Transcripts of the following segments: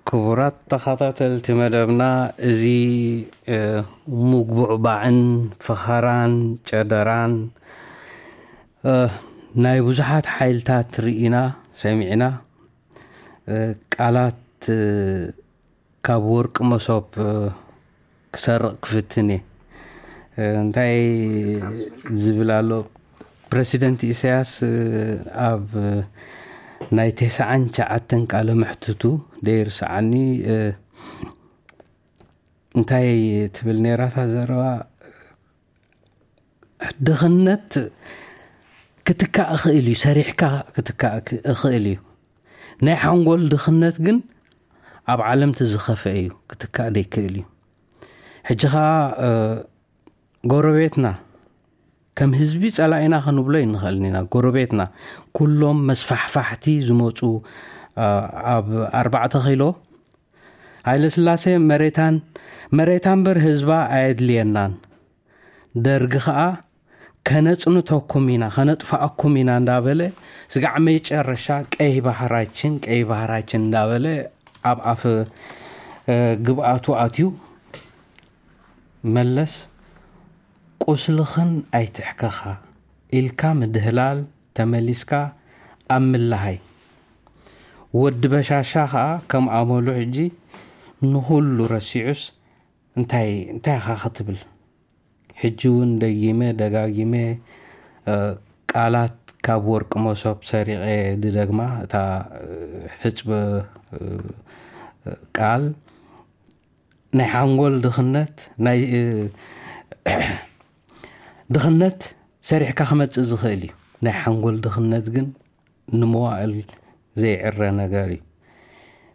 ክቡራት ተኸታተልቲ መደብና፣ እዚ ምጉብዕባዕን ፈኸራን ጨደራን ናይ ብዙሓት ሓይልታት ርኢና ሰሚዕና፣ ቃላት ካብ ወርቂ መሶብ ክሰርቕ ክፍትን እየ። እንታይ ዝብል ኣሎ? ፕረሲደንት ኢሳያስ ኣብ ናይ ተስዓን ትሽዓተን ቃለ መሕትቱ ደይርስዓኒ እንታይ ትብል ነይራታ ዘረባ? ድኽነት ክትካእ እኽእል እዩ፣ ሰሪሕካ ክትካእ እኽእል እዩ። ናይ ሓንጎል ድኽነት ግን ኣብ ዓለም ዝኸፍአ እዩ፣ ክትካእ ዘይክእል እዩ። ሕጂ ኸዓ ጎረቤትና ከም ህዝቢ ጸላኢና ክንብሎ ይንኽእልን ኢና። ጎረቤትና ኩሎም መስፋሕፋሕቲ ዝመፁ ኣብ ኣርባዕተ ኪሎ ሃይለስላሴ መሬታን መሬታ እምበር ህዝባ ኣየድልየናን፣ ደርጊ ኸዓ ከነፅንተኩም ኢና ከነጥፋኣኩም ኢና እንዳበለ ስጋዕ መጨረሻ ቀይ ባህራችን ቀይ ባህራችን እንዳበለ ኣብ ኣፍ ግብኣቱ ኣትዩ። መለስ ቁስልኽን ኣይትሕከኻ ኢልካ ምድህላል ተመሊስካ ኣብ ምልሃይ። ወዲ በሻሻ ኸዓ ከም ኣመሉ ሕጂ ንኹሉ ረሲዑስ እንታይ እንታይ ኢኻ ክትብል? ሕጂ እውን ደጊመ ደጋጊመ ቃላት ካብ ወርቂ መሶብ ሰሪቐ ዝደግማ እታ ሕፅቢ ቃል ናይ ሓንጎል ድኽነት ናይ ድኽነት ሰሪሕካ ክመፅእ ዝኽእል እዩ። ናይ ሓንጎል ድኽነት ግን ንመዋእል ዘይዕረ ነገር እዩ።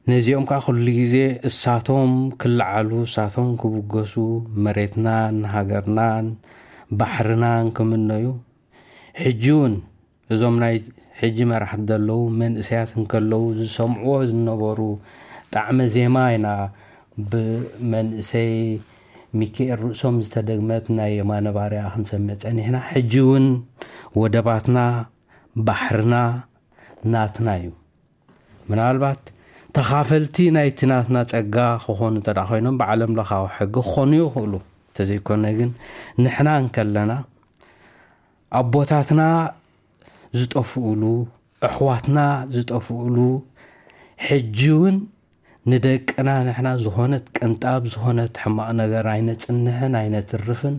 ነዚኦም ከዓ ኩሉ ግዜ እሳቶም ክለዓሉ እሳቶም ክብገሱ መሬትናን ሃገርናን ባሕርናን ክምነዩ ሕጂ እውን እዞም ናይ ሕጂ መራሕቲ ዘለዉ መንእሰያት እንከለዉ ዝሰምዕዎ ዝነበሩ ጣዕመ ዜማ ኢና ብመንእሰይ ሚካኤል ርእሶም ዝተደግመት ናይ የማነ ባርያ ክንሰምዕ ጸኒሕና። ሕጂ እውን ወደባትና ባሕርና ናትና እዩ። ምናልባት ተኻፈልቲ ናይቲ ናትና ጸጋ ክኾኑ እንተ ደኣ ኮይኖም ብዓለም ለኻዊ ሕጊ ክኾኑ ይኽእሉ። እንተዘይኮነ ግን ንሕና እንከለና ኣቦታትና ዝጠፍኡሉ፣ ኣሕዋትና ዝጠፍኡሉ፣ ሕጂ እውን ንደቅና ንሕና ዝኾነት ቅንጣብ ዝኾነት ሕማቕ ነገር ኣይነጽንሕን ኣይነትርፍን።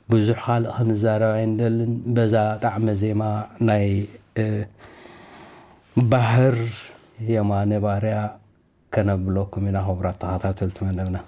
ብዙሕ ካልእ ክንዛረብ ኣይንደልን። በዛ ጣዕመ ዜማ ናይ ባህር የማነ ባርያ ከነብለኩም ኢና። ክቡራት ተኸታተልቲ መደብና።